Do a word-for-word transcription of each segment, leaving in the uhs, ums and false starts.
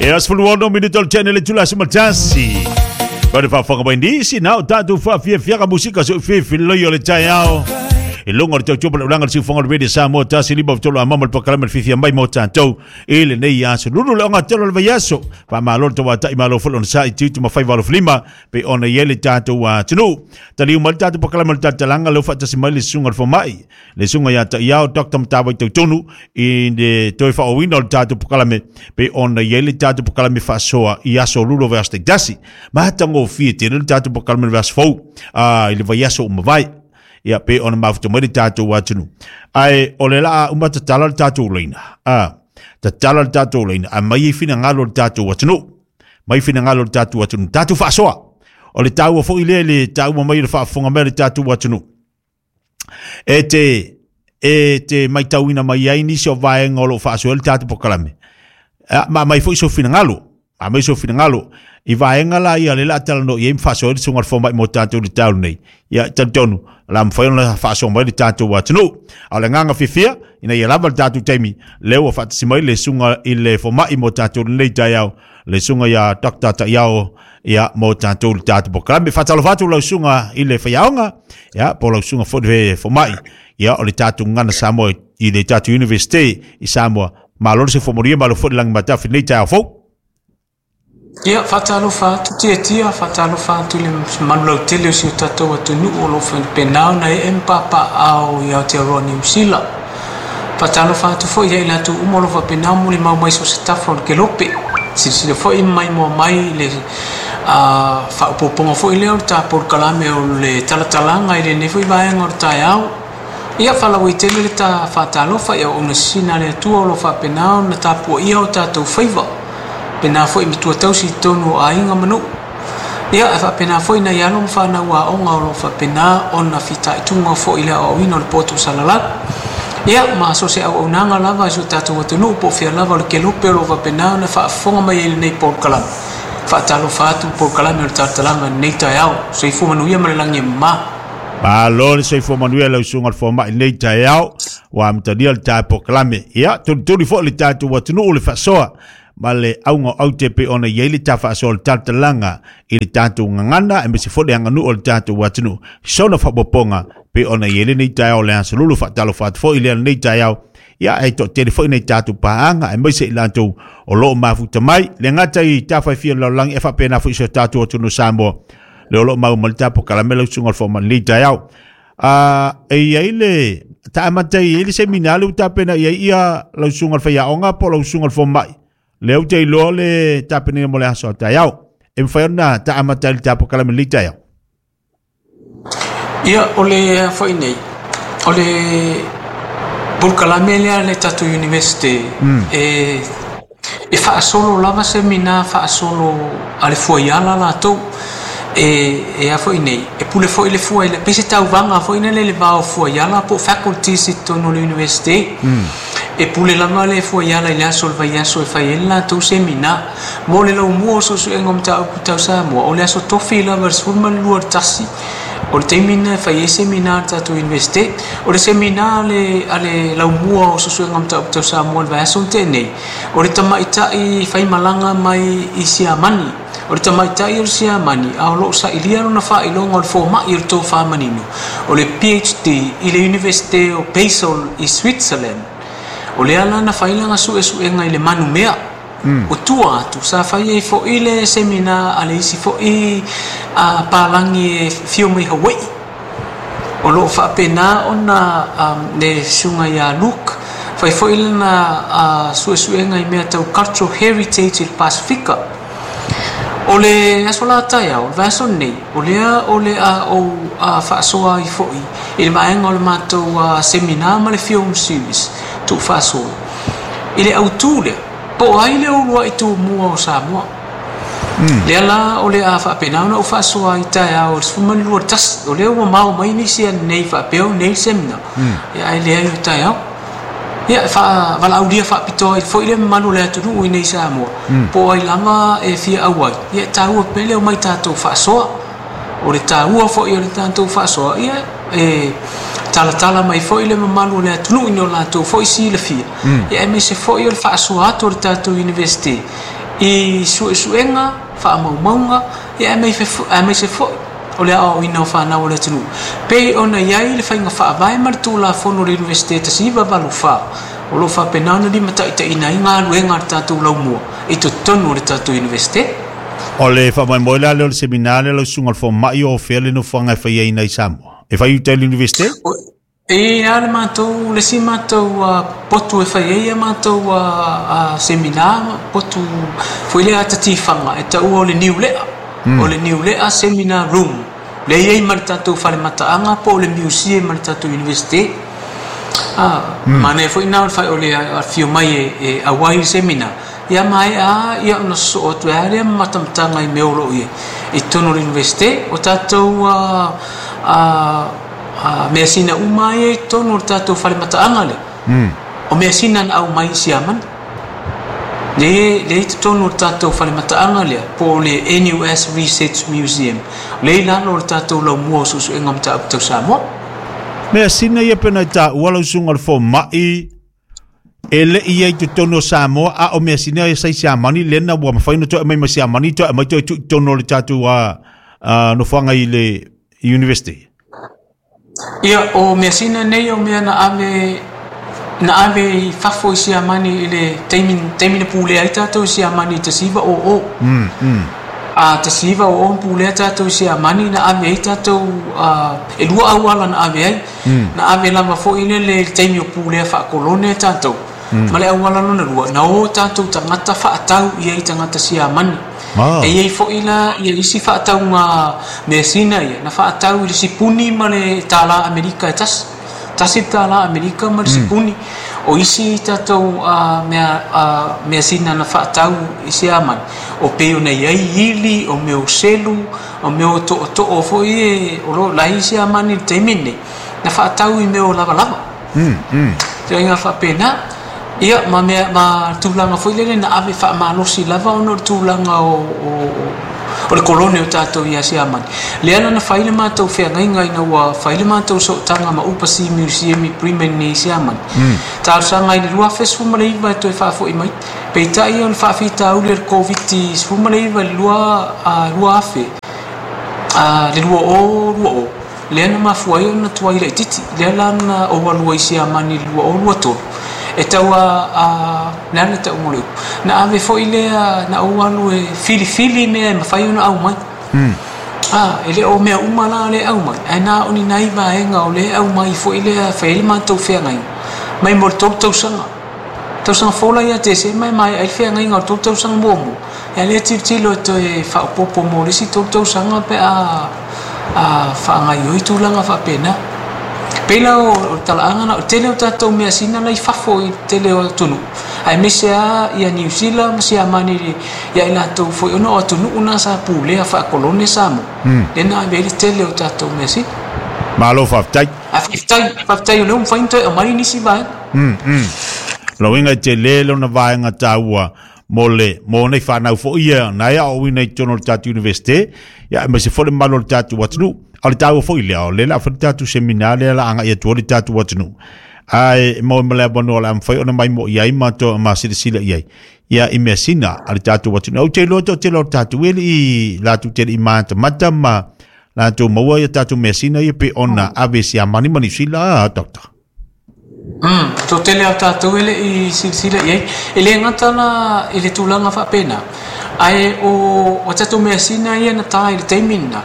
E sefuluono minute o le tene le tula sematasi. Ba le faafofoga mai nisi na o tatou faafiafiaga musika soifefiloi o le taeao. I luga o le tautua ma le ulaga le siufoga o le Radio Samoa tasi lima tolu a mama le pakalama le fifia mai mo tatou i lenei aso. Lulu le ogatelo o le vaiaso. Faamalo le tauatai malo foi lona sa i tiutu ma faiva alofilima pe ona i ai le tatou atunuu. Taliu mai le tatou pakalama le talatalaga leo faatasi mai le susuga o le fomai. Le susuga ia Ta'iao Doctor Matavai Tautonu i le toe faaauauina o le tatou pakalame pe ona i ai le tatou pakalame faasoa i aso lulu o vaiaso taitasi. Matagofie tele le tatou pakalame le vaiaso fou i le vaiaso ua mavae. Ia pe ona mafuta mai le tatou atunuu. Ae o le laa uma tatala le tatou laina. A tatala le tatou laina a mai i finagalo le tatou atunuu. Mai finagalo le tatou atunuu. Tatou faasoa. O le taua foi lea le taua mai le faafofoga mai le tatou atunuu. E te e te maitauina mai ai nisi o vaega o loo faasoa le tatou pakalame. Ma mai foi so finagalo. Ma mai so finagalo. I vaega la ia le la talanoa i ai ma faasoa le susuga o le fomai mo tatou le taolo nei. Ia talitonu la mafai ona faasoa mai le tatou atunuu. A o le agaga fiafia ina ia lava le tatou taimi lea ua faatasi mai le susuga i le fomai mo tatou lenei taeao le susuga ia Doctor Ta'iao ia mo tatou le tatou pakalame. Faatalofa atu lau susuga i le faiaoga ia po o lau susuga foi le fomai ia o le tatou gagana Samoa i le tatou University i Samoa. Malo le soifua manuia malo foi le lagi matafi lenei taeao fou. Ia, faatalofa atu Tiatia, faatalofa atu i le manulautele o si o tatou atunuu o lo o faapena ona ee ma papaao i Aotearoa Niu Sila. Faatalofa atu foi ia i latou uma o lo o faapena molimau mai so o se tafa o le kelope. Silasila foi ma maimoa mai i le faaopoopoga foi lea o le tapolokalame o le talatalaga i lenei foi vaega o le taeao. Ia, faalauaitele le ta faatalofa i auauna sisina a le Atua o lo o faapena ona tapuaia o tatou faiva. Pena foi matua tausi i totonu o aiga ma nuu. Ia, e faapena foi nai alo ma fanau aoga o lo o faapena ona fitaituga foi i le aoaoina o le poto salalau. Ia, ma so o se auaunaga lava i si o tatou atunuu po o fea lava o le kelope o lo o faapena ona faafofoga mai ai i lenei polokalame. Faatalofa atu le polokalame o le talatalaga i lenei taeao. Soifua manuia ma le lagi e mama. Malo le soifua manuia lau susuga o le fomai lenei taeao ua amatalia le tae polokalame. Ia, tulituli foi le tatou atunuu le faasoa ma le auga o aute pe ona i ai le ta faasoa le talatalaga i le tatou gagana aemaise foi le aganuu o le tatou atunuu. Sona faaopoopoga pe ona i ai lenei taeao le aso lulu faatalofa atu foi lea lenei taeao. Ia e toatele foi nei tatou paaga aemaise i latou o loo mafuta mai. Le gata i tafaifia o le lalolagi e faapena foi si o tatou atunuu Samoa. Le o loo mau ma le tapokalame lau susuga o le fomai lenei taeao. A e i ai le taamata i ai le semina le ua tapena i ai ia lau susuga o le faiaoga po o lau susuga o le fomai. Lea ou te iloa le tapenaina mo le aso a taeao. E mafai ona taamata i le tapokalame lenei taeao. Ia, o le foi nei, o le polokalame lea a le tatou University e e faasolo lava semina faasolo a le fuaiala latou. E e a foi nei, e pule foi le fua i le pei se tauvaga foi lele i le va o fuaiala po o faculties i totonu o le University. E pule lava le fuaiala i le aso o le vaiaso e fai ai le latou semina. Mo le laumua o suesuega o mataupu tau Samoa, o le aso tofi lava le sefulu ma le lua o le tasi, o le taimi lena e fai ai semina a le tatou University. O le semina a le, a le laumua o suesuega o mataupu tau Samoa i le vaiaso na tea nei, o le tamaitai faimalaga mai i Siamani. O le tamaitai o le Siamani, a o lo o sailia lona faailoga o le fomai o le tofa manino, o le P H D i le Universite o Basel i Switzerland. O lea la na fai lana suesuega i le manumea. O tua atu, sa fai ai foi le semina a le isi foi a palagi e fio mai Hawaii. O lo o faapena ona le susuga ia Luke, fai foi lana suesuega i mea tau cultural heritage i le Pasifika. O le aso la taeao, o le vaiaso lenei, o lea o le a ou faasoa ai foi i le vaega o le matou semina ma le film series tuufaasolo. I le autū lea, po o ai le uluai tumua o Samoa. Lea la o le a faapena ona ou faasoa ai taeao i le sefulu ma le lua o le tasi. O lea ua mao mai nisi ananei faapea o nei le semina, ia ae leai o taeao. Ia, e faavalaaulia faapitoa ai foi le mamalu o le atunuu i nei Samoa, po o ai lava e fia auai, ia e taua pea le omai tatou faasoa. O le taua foi o le tatou faasoa, ia e talatala mai foi le mamalu o le atunuu i no latou foi silafia, ia aemaise foi o le faasoa atu o le tatou Universite I suesuega faamaumauga ia aemaise foi o le aoaoina o fanau o le atunuu pei ona i ai le faiga faavae ma le tulafono o le Iunivesite tasi iva valu fa o loo faapena ona limataitaiina ai galuega a le tatou laumua i totonu o le tatou Iunivesite. O le faamoemoe la lea o le semina lea lau susuga o le fomai o fea le nofoaga e faiaina i Samoa e fai uta i le Iunivesite? E a le matou le isi matou potu e fai ai ia matou semina potu foi lea atatifaga e taua o le Niulea o le Niulea Seminar Room lea i ai ma le tatou falemataaga po o le museum ma le tatou Iunivesite. Manaia foi na o le afio mai e auai le semina ia maea ia ona sosoo atu ai lea ma matamataga i mea o loo i ai i totonu o le Iunivesite o tatou measina uma ia i totonu o le tatou falemataaga lea o measina na aumai i Siamani lea i totonu o le tatou falemataaga lea po o le N U S Research Museum lea i lalo o le tatou laumua o suesuega o mataupu tau Samoa. Measina ia pena i taua lau susuga o le fomai e le i ai totonu o Samoa a o measina ia sa i Siamani lea na ua mafai ona toe aumai ma Siamani toe aumai toe tuu i totonu o le tatou nofoaga i le University. Ia o measina nei o mea na ave na ave i fafo i Siamani i le taimi taimi na pulea ai tatou i Siamani i tasi iva o o. Mm, mm. A tasi iva o o pulea tatou i Siamani na ave ai tatou e lua auala na ave ai. Na ave lava foi le le taimi o pulea faakolone tatou. Ma le auala lona lua na o tatou tagata faatau i ai tagata Siamani. E iai foi la ia isi faatauga measina ia na faatau i le sipuni ma le tālā Amerika e tasi. Tasi le tālā Amerika ma le sipuni. O isi tatou mea measina na faatau i Siamani o pei ona i ai ili, o mea o selu, o mea o tootoo foi e o loo lai i Siamani i le taimi lenei na faatau i mea o lavalava. Tulaga faapena. Ia ma mea ma tulaga foi lele na ave faamalosi lava ona o le tulaga o o le kolone o tatou ia Siamani. Lea la na fai le matou feagaiga ina ua fai le matou sootaga ma Upasi Museum i Bremen i Siamani. Talosaga i le lua afe sefulu ma le iva e toe faafoi mai. Peitai o le faafitauli o le Koviti sefulu ma le iva i le lua afe le lua o lua o. Lea na mafua ai ona tuai laitiiti. Lea la na ou alua i Siamani i le lua o lua tolu. E tau a le ana tau mo le upu. Na ave foi lea na ou alu e filifili mea e mafai ona aumai. Ah, e le o mea uma la le aumai. Ae na o ni nai vaega o le aumai foi lea fai ai le matou feagaiga. Mai mo le tolu tausaga. Tausaga fola ia Tesema mai mai ai le feagaiga o le tolu tausaga muamua. Ia lea tilotilo e toe faaopoopo mo le isi tolu tausaga pe a faagaioi tulaga faapena. Pei la o le talaaga na o le tele o tatou measina lai fafo i le tele o atunuu. Aemaise lava ia Niu Sila ma Siamani ia i latou foi ona o atunuu na sa pulea faakolone Samoa. Lea na ave ai le tele o tatou measina. Malo faafetai. Ae faafetai, faafetai o lea ua mafai ona toe aumai nisi vaega. Mm, mm. Lauiga i tele lona vaega taua mo le mo nei whanau fo ia na ia o wina i tono le tātou universite ia aemaise foi le mamalu o le tātou atunuu o le taua foi lea o le la fai le tātou seminar lea la anga ia tua le tātou atunuu ai mo ma le avanoa o le a mafai ona mai mo i ai ma to ma silasila i ai ia i measina a le tātou atunuu au te iloa toatele o le tātou e lii latou tele i matamata ma latou maua ia tātou measina ia pe ona ave Siamani ma Niu Sila doctor. Mm, toatele o tatou e lei silasila i ai. E le gata la i le tulaga faapena. Ae o o tatou measina ia na tā i le taimi lena.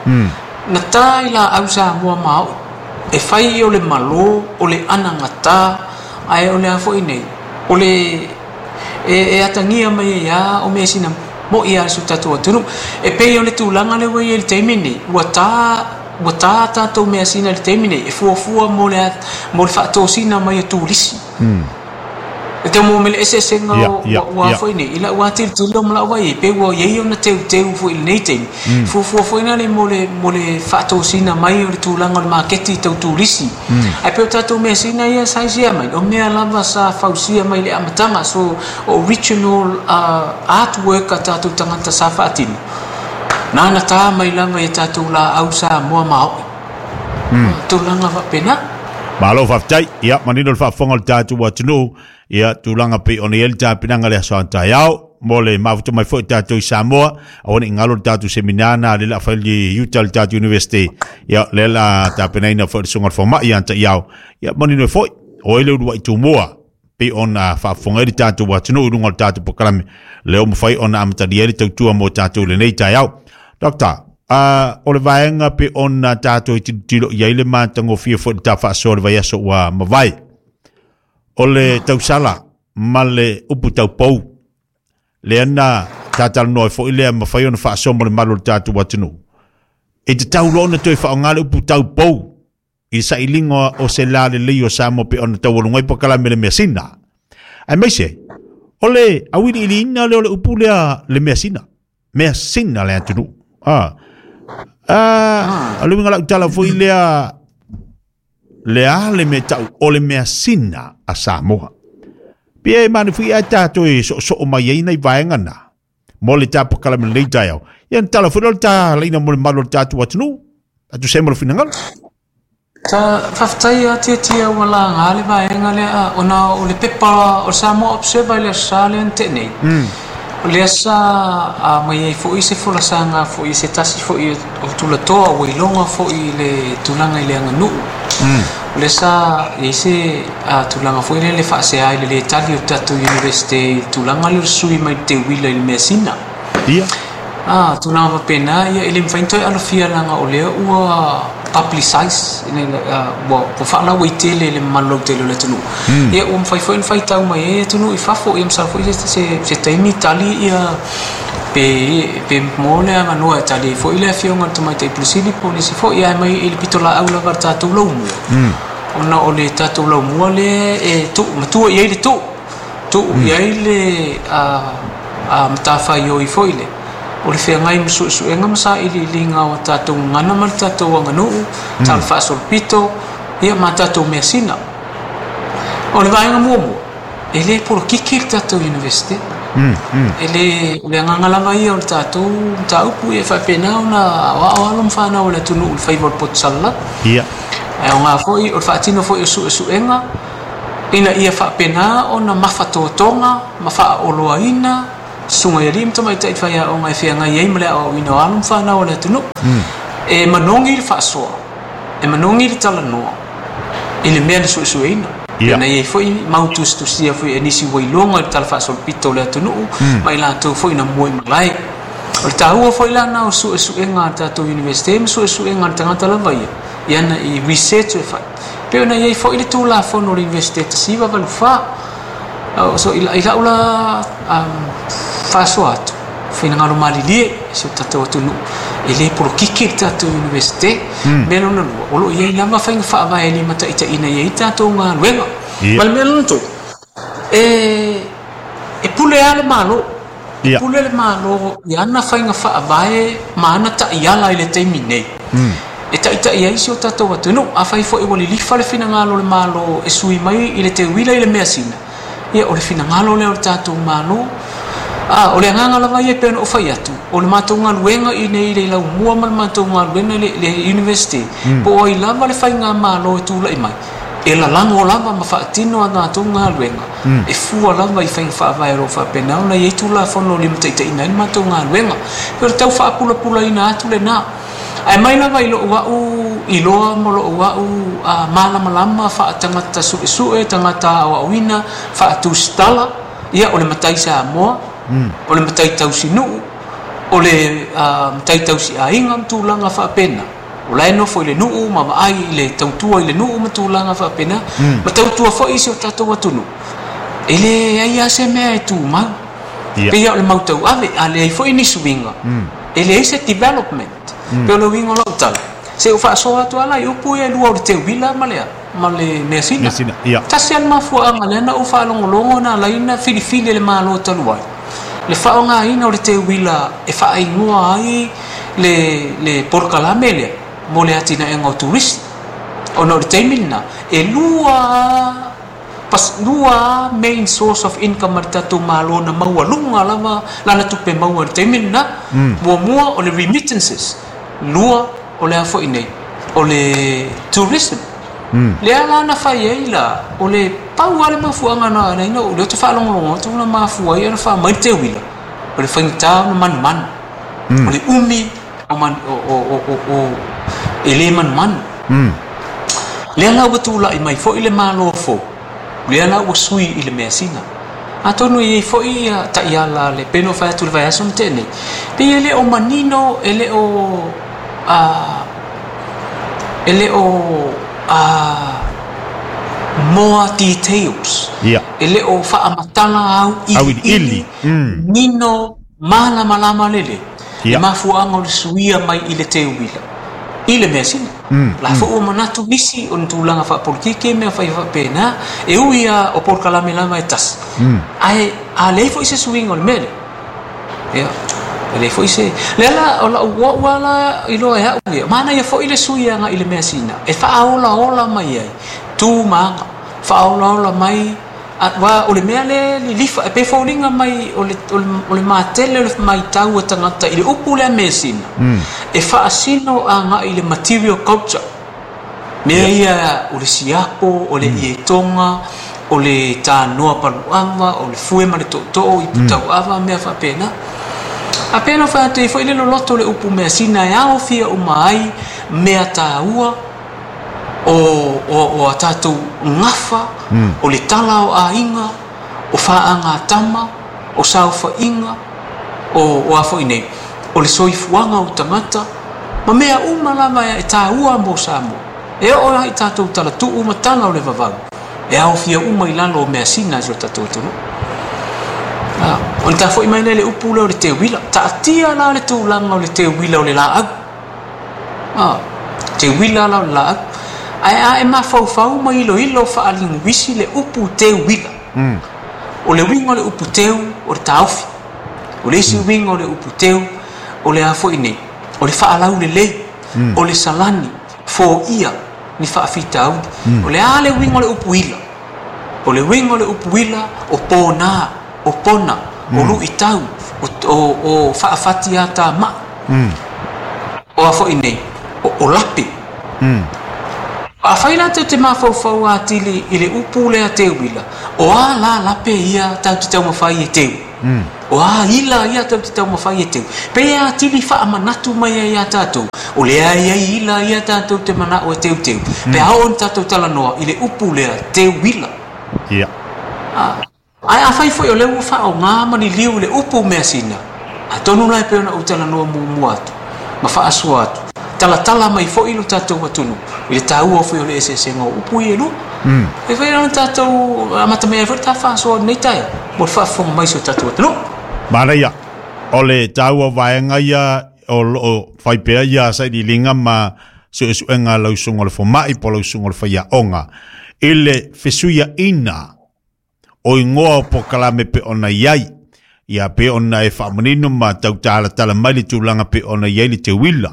Na tā i laau Samoa maoi. E fai o le malo, o le anagata, ae o le a foi nei. O le e, e atagia mai ai a o measina mo ia si o tatou atunuu. E pei o le tulaga lea ua i ai i le taimi lenei. Ua tā ua tā tatou measina i le taimi nei e fuafua mo le mo le faatosina mai e turisi. E te mo mele eseesega ua foi nei i lau atilotilo ma lau vaai pe ua iai ona teuteu foi i lenei taimi. Fuafua foi na le mo le mo le faatosina mai o le tulaga o le maketi tau turisi. Ae pei o tatou measina ia sa isia mai o mea lava sa fausia mai le amataga so original artwork a tatou tagata sa faatino. Na na tā mai lava i tatou laau Samoa maoi. Tulaga faapena. Malo faafetai. Ia manino le faafofoga o le tatou atunuu. Ia tulaga pei ona i ai le tapenaga le aso a taeao. Mo le mafuta mai foi tatou i Samoa. Aua ne i galo le tatou seminana le la fai i Utah le tatou University. Ia le la tapenaina foi le susuga i le fomai ia Ta'iao. Ia manino ai foi o ai le ulua'i tumua pei ona faafofoga ai le tatou atunuu i luga o le tatou polokalame lea ua mafai ona amatalia ai le tautua mo tatou i lenei taeao. Doctor, uh, o le vaega pe ona tatou i tilotilo i ai le matagofie foi le tafaasoa le vaiaso ua mavae. O le tausala ma le upu taupou lea na tatalanoa ai foi lea mafai ona faasoa mo le malu o le tatou atunuu. E tatau loa ona toe faaaoga le upu taupou i le sailiga o se la lelei o Samoa pe ona taualuga ai polokalame le measina. Aemaise, o le auiliiliina lea o le upu lea le measina. Measina le atunuu. Ah. Ah, o le uiga lau tala foi lea le a le mea ta'u o le measina a Samoa. Pei e manufui ai tatou e soosoo mai ai nai vaega na mo le tapokalame lenei taeao. Ia na tala foi lea o le talaina mo le malu o le tatou atunuu. Atu se mo le finagalo. Ta faafetai a tiatia ua laga le vaega lea ona o le pepa o le Samoa Observer i le aso Sa lea na tea nei. O lea sa mai ai foi se folasaga foi se tasi foi o tulatoa ua iloga foi i le tulaga i le aganuu. O lea sa i ai se tulaga foi lea le faasea i le lē tali o le tatou Universite i le tulaga lea o le sui mai le teuila i le measina. Ia. Ah, tulaga faapena ia e le mafai ona toe alofia leaga o lea ua publicize ua ua faalauaitele i le mamalu lautele o le atunuu. Ia ua mafai foi ona faitau mai ai atunuu i fafo ia masalo foi se se se taimi tali ia pe pe mo le avanoa e tali ai foi le afioga i le Tamaitai Pule Sili po o nisi foi ae mai i le pitolaau lava a le tatou laumua. Ona o le tatou laumua lea e tuu matua i ai le tuu, tuu i ai le a matafaioi foi lea o le feagai ma suesuega ma sailiiliga o tatou gagana ma le tatou aganuu, tala faasolopito ia ma tatou measina. O le vaega muamua, e lē polokiki le tatou Universite. E lē o le agaga lava ia o le tatou mataupu ia e faapena ona aoao alo ma fanau o le atunuu i le faiva o le poto salalau. Ia. Ae aoga foi o le faatino foi o suesuega ina ia faapena ona mafatotoga ma faaoloaina susuga i alii ma tamaitai faiaoga e feagai ai ma le aoaoina o alo ma fanau o le atunuu. E manogi le faasoa, e manogi le talanoa i le mea na suesueina. Ia. Na i ai foi mau tusitusia foi e nisi ua iloga i le tala faasolopito o le atunuu ma i latou foi na mua i malae. O le taua foi lana o suesuega a le tatou Universite ma suesuega a le tagata lava ia i ana i research e fai. Pei ona i ai foi le Tulafono o le Universite tasi iva valu fa. So i lau la faasoa atu, finagalo malilie si o tatou atunuu e lē polokiki le tatou Universite. Mea lona lua, o loo i ai lava faiga faavae e limataitaiina i ai tatou galuega. Ia. Ma le mea lona tolu, e e pule lava le Malo. E Ia. pule le Malo i ana faiga faavae ma ana ta'iala i le taimi nei. E taʻitaʻi ai si o tatou atunuu. Afai foi ua lilifa le finagalo o le Malo e sui mai i le teuila i le measina, ia o le finagalo lea o le tatou Malo. Ah, o le agaga lava ia e pei ona ou fai atu, o le matou galuega i nei i le laumua ma le matou galuega i le, le Universite, po o ai lava le faigamalo e tula'i mai, e lalago lava ma faatino a tatou galuega, e fua lava i faiga faavae o loo faapena ona i ai Tulafono o limataitaiina ai le matou galuega. Pei o le tau faapulapulaina atu lenā. Ae mai lava i lou a'u iloa ma lou a'u malamalama faatagata suesue, tagata aoaoina, faatusitala, ia o le matai Samoa, o le matai tausinuu, o le matai tausiaiga ma tulaga faapena. O la e nofo i le nuu ma vaai i le tautua i le nuu ma tulaga faapena, ma tautua foi i si o tatou atunuu. E leai lava se mea e tumau. Ia. Pei o le mau tauave, a leai foi ni suiga, e leai se development. Pei o le uiga o lau tala, se i ou faasoa atu lava la i upu ia e lua o le teuila ma le a ma le measina. Measina, ia. Tasi lava le mafuaaga lea na ou faalogologo na ala ai ona filifili e le Malo talu ai le faaaogaina o le teuila e faaigoa ai le le polokalame lea mo le atinaega o turisi. Ona o le taimi lenā e lua pas lua main source of income a le tatou Malo na maualuga lava lana tupe maua i le taimi lenā. Muamua o le remittances, lua o le a foi nei o le tourism. Lea la na fai ai la o le Pau ale mafuaga na na ina o le te faalogologo atu na mafua ai ona faamai le teuila o le faigata ona manumanu o le umi o man o o o o e lē manumanu. Lea la ua tula'i mai fo'i le mālō fou lea la ua sui i le measina atonu e iai fo'i ia ta'iala le peno fai atu le vaiaso ma te'e nei pei e lē o manino e lē o a e lē o a more details Ia. E lē o fa'amatala au Auiliili. iliili nino malamalama lele Ia. le mafua'aga o le suia mai i le teuila i le measina la fo'u ua manatu nisi o ni tulaga fa'apolitiki mea fai fa'apena e ui a o polokalame lava e tasi ae a leai fo'i se suiga o le mea lea ia e leai fo'i se lea la o la'u o'u ala iloa e a'u ia manaia fo'i le sui aga'i le measina e fa'aolaola mai ai tu ma aga fa'aolaola mai wa o le mea le lilifa e pe foliga mai o le o le, o le matele o le maitau a tagata i le upu lea measina e fa'asino aga'i le material culture mea ia o le siapo o le ietoga o le tanoa palu'ava o le fue ma le to'oto'o i putau'ava mea fa'apena a pena fai atu ai fo'i le loloto o le upu measina e aofia uma ai mea tāua o o o a tatou gafa o le tala o aiga o fa'agatama o saofa'iga o o a fo'i nei o le soifuaga o tagata ma mea uma lava e tāua mo Samoa e oo ai tatou talatu'u ma tala o le vavau e aofia uma i lalo o measina i so tatou atunuu. Ah, o le tafo'i mai lea le upu lea o le teuila ta'atia la le tulaga o le teuila o le la'au ah, teuila la o le la'au ae a e mafaufau ma iloilo fa'aliguisi le upu teuila o le uiga o le upu teu o le taofi o le isi uiga o le upu teu o le a fo'i nei o le fa'alaulelei o le salani fo'ia ni fa'afitauli o le a le uiga o le upu ila o le uiga o le upu ila o pōnā o pona o lu'itau o, o, o fa'afati atama'i o a fo'i nei o, o lape a fai la te te mafaufau atili i le upu lea teuila o a la lape ia tau te taumafai e teu o a ila ia tau te taumafai e teu pe atili fa'amanatu mai ai iā tatou o lea ai ila ia tatou te mana'o e teuteu pe a oo ni tatou talanoa i le upu lea teuila. Ia. Ae afai fo'i o lea ua fa'aogā ma liliu i le upu measina atonu la e pei ona ou talanoa muamua atu ma fa'asoa atu talatala mai fo'i lo tatou atunuu i le tāua foi o le eseesega o upu ia e lua e fai ona tatou amata mai ai foi le ta fa'asoa lenei taea mo le fa'afofoga mai si o tatou atunuu. Manaia o le taua vaega ia o loo fai pea ia sailiiliga ma su'esu'ega lausuga o le foma'i po lausuga o le faiaoga i le fesuia'ina o igoa o pokalame pe ona iai ia pe ona e fa'amanino ma tautalatala mai le tulaga pe ona iai le teuila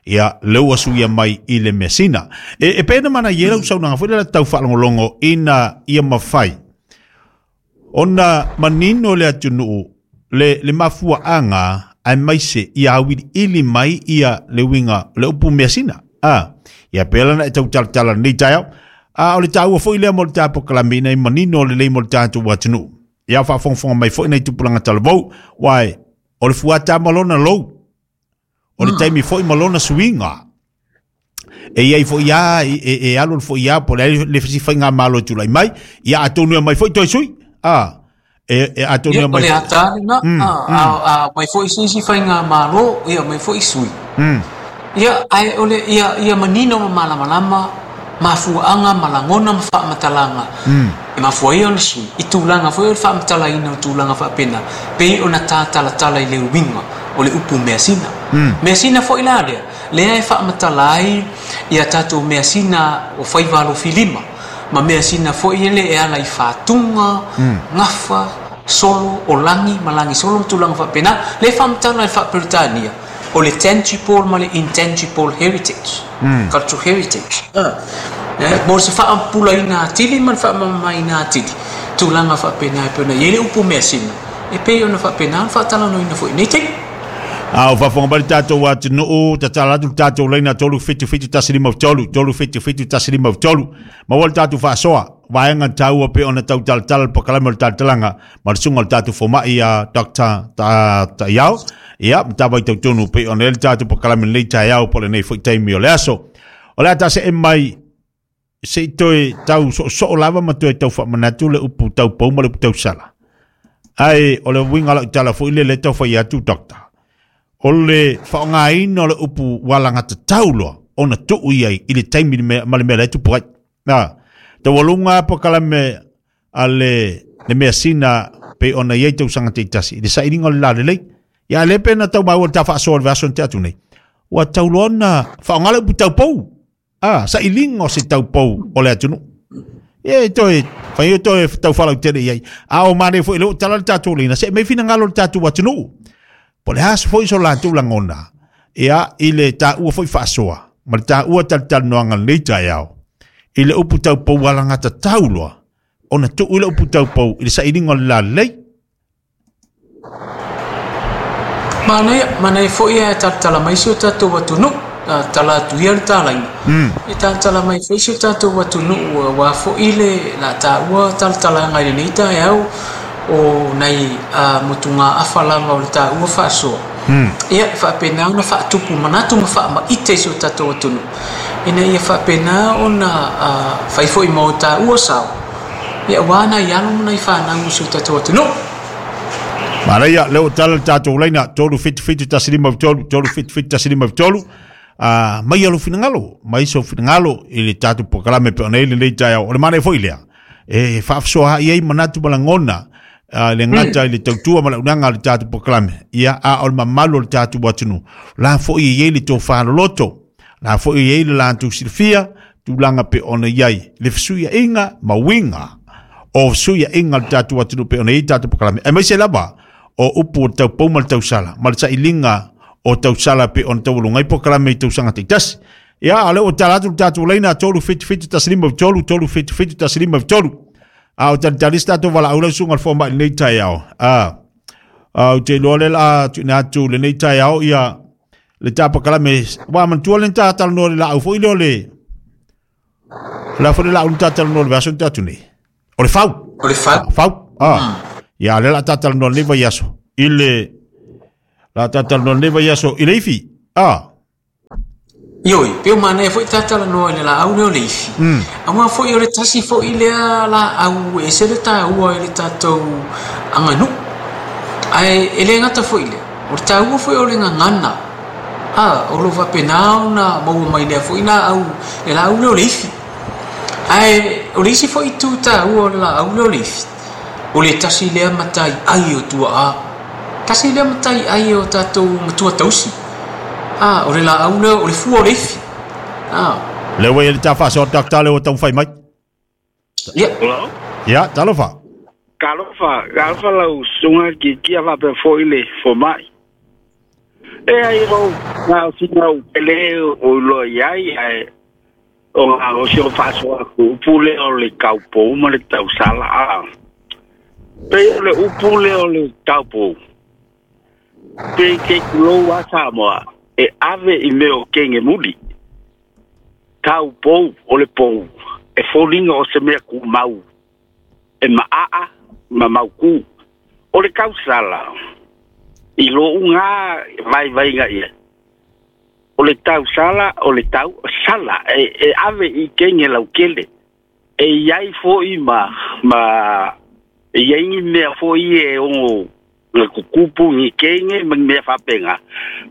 ia le ua suia mai i le measina e, e pena mana ia lau saunaga foi le tau fa'alogologo ina ia mafai ona manino le atunu'u le, le mafua'aga ae maise ia auili'ili mai ia le uiga le upu measina a ia pea lana e tautalatala lenei taeao a o le tāua fo'i lea mo le tapokalame ina i manino lelei mo le tatou atunuu ia fa'afogafoga mai fo'i nai tupulaga talavou uae o le fuata ma lona lou o le taimi fo'i ma lona suiga e iai fo'i a e, e, e alu le fo'i a po le le fesifaiga malo e tula'i mai ia atonu e mai fo'i toe sui a e, e atonu Ia e o mai le fo'i ata lena a a a mai fo'i se isi faiga mālō ia mai fo'i sui ia ae o le ia ia manino ma malamalama mafua'aga ma lagona ma fa'amatalaga e mafua ia ona sui i tulaga foi o le fa'amatalaina o tulaga fa'apena pei ona tatalatala i le uiga o le upu measina measina fo'i la lea lea e fa'amatala ai ia tatou measina o faiva alofilima ma measina fo'i ele e ala i fatuga gafa solo o lagi ma lagi solo ma tulaga fa'apena lea e fa'amatala i le fa'aperetania o le tangible ma le intangible heritage cultural heritage eh, mo se fa'apulaina atili ma le fa'amamaina atili tulaga fa'apena e pei ona iai le upu measina e pei ona fa'apena ona fa'atalanoaina fo'i nei taimi. A o faafofoga mai le tatou atunuu tatala atu le tatou laina tolu fitu fitu tasi lima tolu tolu fitu fitu tasi lima tolu maua le tatou faasoa Vaenga taua pe ona tau talatala pakalame o le talatalaga ma le suga o le tatou fomaʻi a Doctor Ta'iao. Ia matavai tautonu pe ona le tatou pakalame lenei taeao po o lenei fo'i taimi o le aso. O le a tase'e mai se'i toe tau so'oso'o lava ma toe tau fa'amanatu le upu taupou ma le upu tausala. Ae o le uiga la'u tala fo'i le le tau fai atu Doctor. O le fa'aogāina o le upu ua lagatatau loa ona tu'u iai i le taimi ma le mea lae tupu ai. A taualuga pakalame a le le measina pe ona iai tausaga ta'itasi i le sa'iliga o le lalelei. Ia le pe na tau maua le tafa'asoa le vaiaso na te atu nei. Ua tauloa ona fa'aogā le upu taupou. A sa'iliga o se taupou o le atunu'u. Ia e toe fai toe tau falautele iai. A o mane fo'i le o tala le tatou leina se'e mai finagalo le tatou atunu'u. Po le aso fo'i so latou lagona. Ia i le tāua fo'i fa'asoa ma le tāua talitalinoaga lenei taeao. I le upu taupou alagatatau loa ona tu'u i le upu taupou i le sa'iliga o le lalelei. Manaia, manaia fo'i ae talatala mai si o tatou atunu'u, tala atu ia le talaina. E talatala mai fo'i si o tatou atunu'u auā fo'i le la tāua talatalaga i lenei taeao o nai motugā'afa lava o le tāua fa'asoa. Ia e fa'apena ona fa'atupu manatu ma fa'ama'ite i si o tatou atunu'u ina ia fa'apena ona fai fo'i ma o tāua sao ia auā nai alo ma nai fānau o si o tatou atunu'u. Manaia le o tala le tatou laina tolu fitu fitu tasi lima tolu tolu fitu fitu tasi lima tolu. A mai alo finagalo mai so finagalo i le tatou pakalame pe ona i lenei taeao. O le manaia fo'i lea e fa'afasoaha'i ai manatu ma lagona le gata i le tautua ma le auaunaga le tatou pakalame. Ia a o le mamalu o le tatou atunuu la fo'i e iai le tofaloloto la fo'i e iai le latou silafia tulaga pe ona iai le fesuia'iga ma uiga o fesuia'iga o le tatou atunuu pe ona iai tatou pakalame. Aemaise lava o upu o le taupou ma le tausala ma le sa'iliga o tausala pe ona taualuga ai pakalame i tausaga ta'itasi. Ia a lea ua tala atu le tatou laina tolu fitu fitu tasi lima tolu tolu fitu fitu tasi lima tolu. A o talitali se tatou valaau lau suga le foma'i lenei taeao. A ou te iloa lea la tu'uina atu lenei taeao ia le tapakalame ua manatua le tatalanoa le la'au fo'i lea o le la fo'i le la'au na tatalanoa le vaiaso na te atu nei. O le fau. O le fau. Fau. A. Ia lea la tatalanoa lenei vaiaso i le la tatalanoa lenei vaiaso i le ifi. A. Ioi, pe o manaia fo'i tatalanoa i le la'au lea o le ifi. Auā fo'i o le tasi fo'i lea la'au e ese le tāua i le tatou aganu'u. Ae e lē gata fo'i lea, o le tāua fo'i o le gagana. A, o lo fa'apenā ona maua mai lea fo'i la'au le la'au lea o le ifi. Ae o le isi fo'i itu tāua o le la'au lea o le ifi, o le tasi lea matai ai o tua'a. Tasi lea matai ai o tatou matua tausi. A, o le la'au lea o le fua o le ifi. A. Le ua ia le tafa'asoa Doctor le ua taumafai mai. Ia. Ia, talofa. Talofa, talofa lau susuga kikia fa'apea fo'i le foma'i. E ai o na o sina u pele o iloa iai ae o ga o si o fa'asoa aku upu lea o le taupou ma le tausala a. Pei o le upu lea o le taupou. Pei ke kulou a Samoa e ave i mea o kege muli. Taupou o le pou e foliga o se mea kumau e ma'a'a ma maukū. O le tausala i lo'u gā vaivaiga ia. O le tausala o le tau sala e, e ave i kege laukele. E iai fo'i ma ma e iai ni mea fo'i e ogo le kukupu ni kege ma ni mea fa'apega.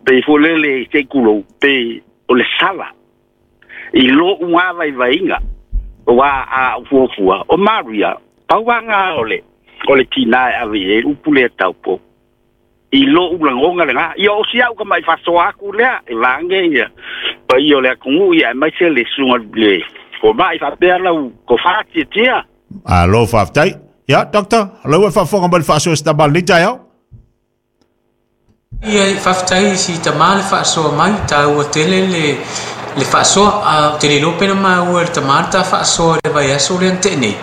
Pe fo lele se kulou pe o le sala. I lo'u gā vaivaiga o a a fuafua o Maria pauaga o le o le tinā e ave i ai upu lea taupou. I lo'u lagoga legā. Ia o si a'u ka ma'i fa'asoa aku lea e vage ia paia o le atunu'u ia aemaise le susuga le foma'i fa'apea lau tofā tiatia. Alo fa'afetai. Ia Doctor, lau e fa'afofoga mai le fa'asoa se tama lenei taeao. Ia fa'afetai si tamā le fa'asoa mai tāua tele le le fa'asoa a o te le iloa pe na maua e le tamā le tā fa'asoa i le vaiaso lea na te'e nei.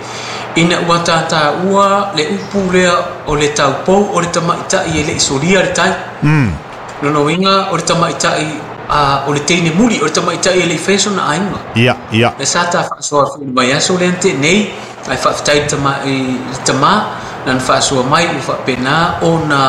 Ina ua tātāua le upu lea o le taupou o le tama'ita'i e le'i solia le tai. Lona uiga o le tama'ita'i a o le teine muli o le tamaitai e le i faia sona aiga. Ia, ia. Le sa ta faasoa foi i le vaiaso lea na tea nei, ae faafetai i le tama, i le tamā na na faasoa mai ua faapena ona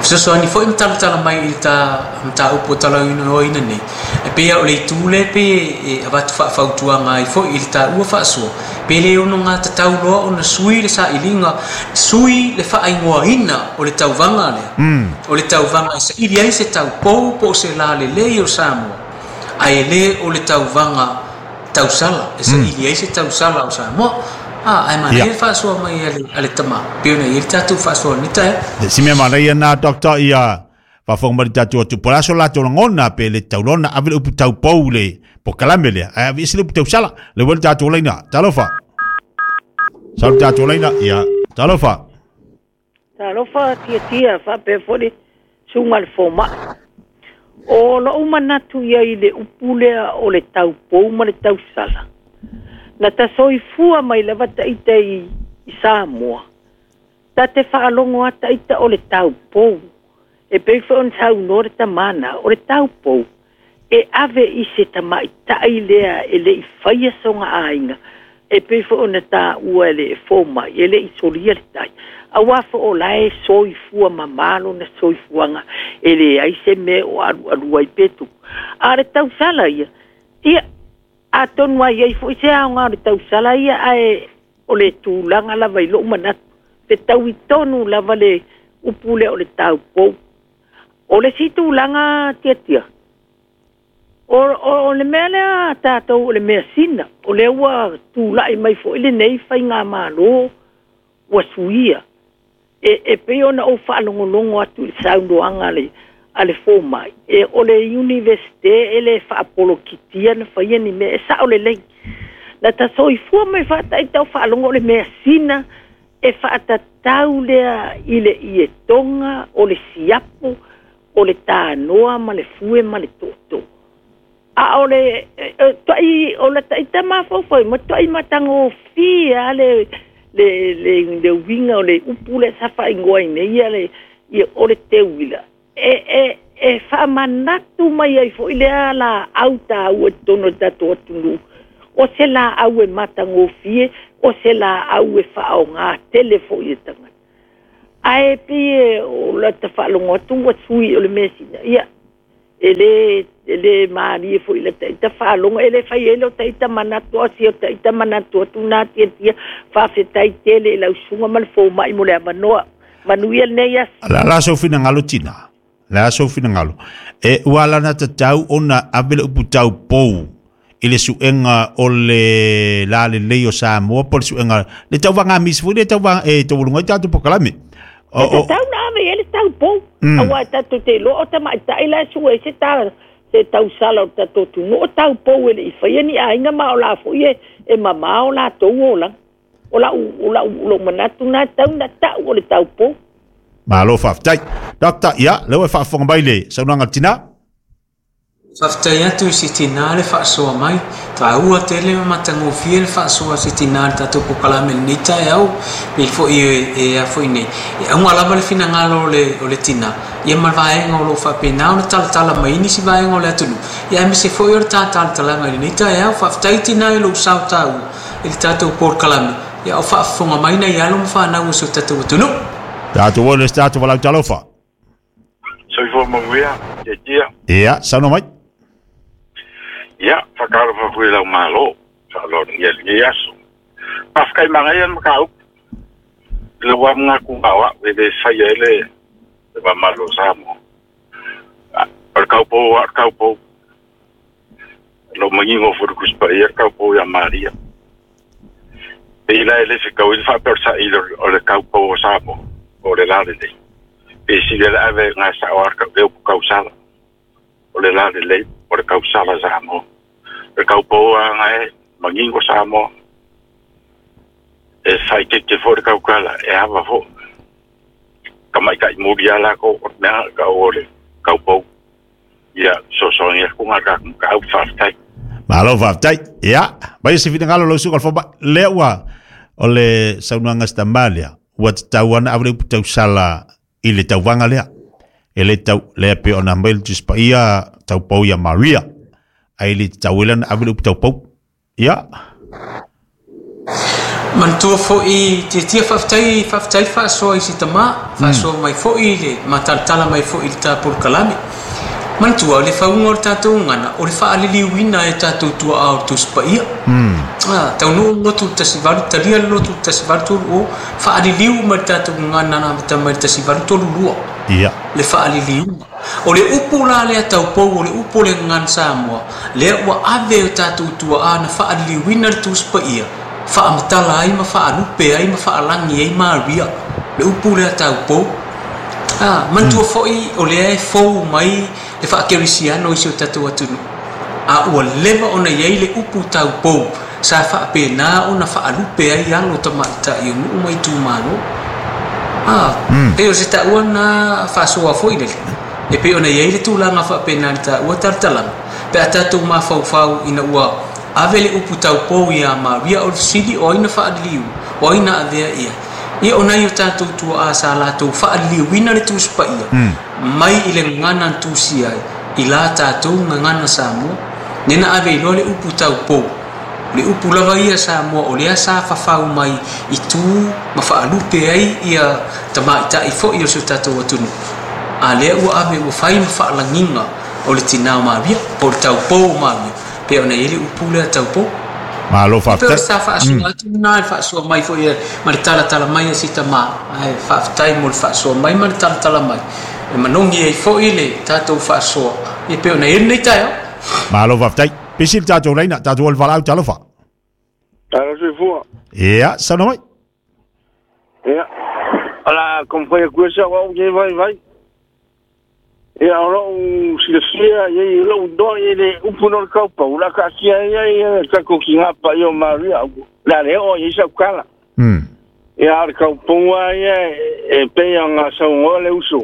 fesoasoani foi ma talatala mai i le ta mataupu o talanoaina nei. E pei lava o le itu lea pei e avatu faafautuaga ai foi i le taua faasoa, pe le ono gatatau loa ona sui le sailiga, sui le faaigoaina o le tauvaga lea. O le tauvaga e saili ai se taupou po o se lalelei o Samoa, ae le o le tauvaga tausala e saili ai se tausala o Samoa. Ah, ae manaia le faasoa mai a le, a le tamā, pei ona i ai le tatou faasoa nei taeao. Si mea manaia na doctor ia faafofoga mai le tatou atu po o le a so latou lagona pe le taulona ave le upu taupou le pokalame lea ae ave ese le upu tausala le ua le tatou laina. Talofa. Sau le tatou laina ia talofa. Talofa tiatia faapea foi le susuga i le fomai. O lou manatu ia i le upu lea o le taupou ma le tausala. Na tasoifua mai lava taita i Samoa. Ta te faalogo lava taita o le taupou. E pei foi ona saunoa le tamana, o le taupou e ave i se tamaitai lea e le i faia sona aiga. E pei foi ona taua e le fomai, e le i solia le tai. Aua foi o la e soifua mamalo na soifuaga e leai se mea o alualu ai pe tupu. A o le tausala ia, ia, atonu ai ai foi se aoga o le tausala ia, ae o le tulaga lava i lou manatu. Fetaui tonu lava le upu lea o le taupou. O le isi tulaga tiatia, o, o, o le mea lea tatou o le measina, o lea ua tulai mai foi lenei faigamalo ua suia. E, e pei ona ou faalogologo atu i le saunoaga a le, a le fomai, e o le universite e le faapolokitia na faia ni mea, e sao lelei. Na tasoifua mai faataita o faalogo o le measina e faatatau lea i le ietoga o le siapo, o le tanoa ma le fue ma le tootoo. A o le tuai o le taita mafaufau ma tuai matagofie lava le le le le uiga o le upu lea sa faaigoa ai nei ia le ia o le teuila. E e e faamanatu mai ai foi lea laau taua i totonu o le tatou atunuu. O se laau e matagofie, o se laau e faaaoga tele foi e tagata. Ae pei e o lata faalogo atu ua sui o le measina. Ia, e le, e le malie foi i la taita faalogo, e le fai ai leo taita manatu, o si o taita manatu atu nā tiatia, faafetai tele i lau susuga ma le fomai mo le avanoa. Manuia lenei aso. La la sou finagalo tina. La sou finagalo. E ua ala na tatau ona ave le upu taupou i le suega o le lalelei o Samoa po o le suega le tauvaga misi foi le tauvaga e taualuga ai tatou pokalame. E tatau na ave i ai le taupou, aua e tatou te iloa o tamaitai la e sue ai se ta se tausala o le tatou atunuu, o taupou e le i faia ni aiga ma o la foi e e mamao latou olaga. O lau o lau lou manatu na e tatau na tau o le taupou. Malo faafetai. Doctor, ia, lea ua e faafofoga mai i le saunoaga a le tina. Faafetai atu i si tina le faasoa mai. Taua tele ma matagofie le faasoa a si tina i le tatou pokalame i lenei taeao, pei foi e a foi nei. E auga lava le finagalo o le o le tina, ia ma le vaega o lo o faapena ona talatala mai ai nisi vaega o le atunuu, ia aemaise foi o le ta talatalaga i lenei taeao. Faafetai tina i lou sao taua i le tatou polokalame, ia o faafofoga mai nai alo ma fanau o si o tatou atunuu. Tatou o le isi tatou valaau talofa. Soifua manuia, tiatia. Ia, saunoa mai. Ia, whakaalofa koe lau malo, whaaloa ia lenei aso. Faafetai manaia le mataupu, i le wā mga ku ngā wau, e le whaia e le le mamalo o Samoa. O le kaupou a le kaupou, lo mangingo fo le Tusi Paia le kaupou ia Maria. Pe ila e le whikau i le whaapea o le saili o le kaupou o Samoa, o le lalelei. Pe sili le ave ngā sao a le upu kausala, o le lalelei, o le kausala Samoa. Le kaupou a ngā e mangingo Samoa, e whaitete fo le kaukala, e hawa fo. Ka mai kai muri a lako, o mea ka o le kaupou. Ia, so so ngia ku ngā ka ka au whafetai. Malo faafetai. Ia, mai se finagalo lau susuga o le fomai. Lea ua o le saunoaga a si tama lea, ua tatau ana ave le upu tausala i le tauvaga lea. E le tau le pe ona mai le Tusi Paia taupou ia Maria. Ai le tau ela na ave le upu taupou. Ia. Manatua fo'i tiatia faafetai faafetai faasoa i si tamā faasoa mai fo'i le matalatala mai fo'i le tapolokalame. Manatua o le fauga o le tatou gagana o le faaliliuina e tatou tua'a o le Tusi Paia. Ah, taunuu lotu le tasi valu talia le lotu le tasi valu tolu o faaliliu ma le tatou gagana na amata mai le tasi valu tolu lua. Ia. Le faaliliuga. O le upu la lea taupou o le upu o le gagana Samoa lea ua ave o tatou tua'a na faaliliuina le Tusi Paia faamatala ai ma faalupe ai ma faalagi ai Maria le upu lea taupou. Ah, manatua fo'i o lea e fou mai le faakerisiano i si o tatou atunuu. A ua leva ona iai le upu taupou sa faapenā ona faalupe ai alo tamaita'i o nuu ma itumalo. Ah, pei o se taua na faasoa fo'i lele. E pei ona iai le tulaga faapenā le taua talatalaga. Pe a tatou mafaufau ina ua ave le upu taupou iā Maria o le fesili o ai na faaliliu, o ai na avea ia. Ia o nai o tatou tua'a sa latou faaliliuina le Tusi Paia mai i le gagana na tusia ai i la tatou gagana Samoa. Nena ave i loa le upu taupou. Le upu lava ia Samoa o lea sa fafau mai i tu ma faalupe ai ia tamaita'i fo'i o si o tatou atunuu. A lea ua ave ua fai ma faalagiga o le tinā o Maria po o le taupou o Maria pe ona i ai le upu lea taupou. Malo Pe o faafetai. sa faasoa atu lena le faasoa mai fo'i ma le talatala mai a si tamā. Ae faafetai mo le faasoa mai ma le talatala mai. E manogi ai fo'i le tatou faasoa ia pe ona i ai lenei taeao. Malo faafetai. Pisi le tatou laina, tatou o le valaau talofa. Alo soifua. Ia, saunoa mai. Ia. Ala kompai ku sa wa ke vai vai. Ia o lou silafia ia i lou do ia le upu no le kaupau la ka kia ia ia ka ko ki ngā pa ia o Maria. La le o ia sa kala. Hmm. Ia le kaupau ia e pe ia ngā saungoa le uso.